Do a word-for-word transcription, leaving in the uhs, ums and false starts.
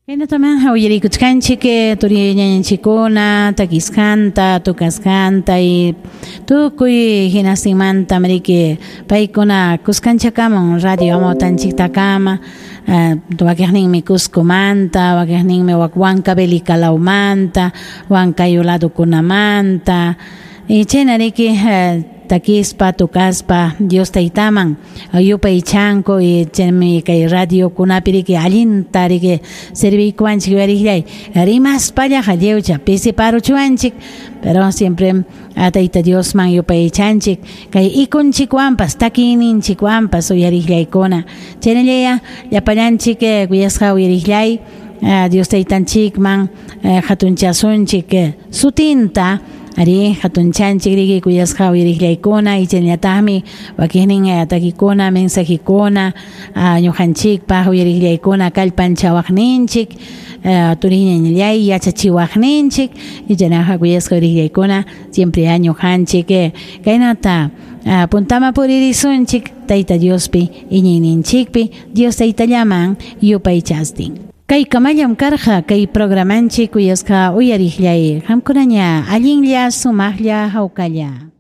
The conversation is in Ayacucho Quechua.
Kaynatamá uyarikuchkanchik turi ñañanchikkuna takisqanta, tukasqanta y tukuy hinastinmanta riki paykuna kuskanchakamun radio amawtanchiktakama wakiqninmi Cuscomanta, wakiqninmi Huancavelica lawmanta, Huancayo ladokunamanta y chayna riki takispa, tukaspa Dios taytaman yupaychanku y chaymi kay radiokunapi riki allinta riki serviykuwanchik uyariqllay rimaspallaqa lliwcha pisiparuchuwanchik pero siempre Tayta Diosman yupaychanchik kay ikunchikwanpas takiyninchikwanpas uyariqllaykuna chaynallaya llapallanchik kuyasqa uyariqllay Dios taytanchikman hatunchasunchik sutinta ari hatunchanchik riki kuyasqa uyariqllaykuna y chaynallataqmi wakiqnin takikuna mensajekuna ñuqanchikpaq uyariqllaykuna kallpanchawaqninchik turiñañallay yachachiwaqninchik y chaynaqa kuyasqa uyariqllaykuna siempre ñuqanchik kaynata puntama puririsunchik Tayta Diospi iñiyninchikpi Dios taytallaman yupaychastin. Kay kamallam karqa kay programanchik kuyasqa uyariqllay qamkunaña allinlla sumaqlla hawkalla.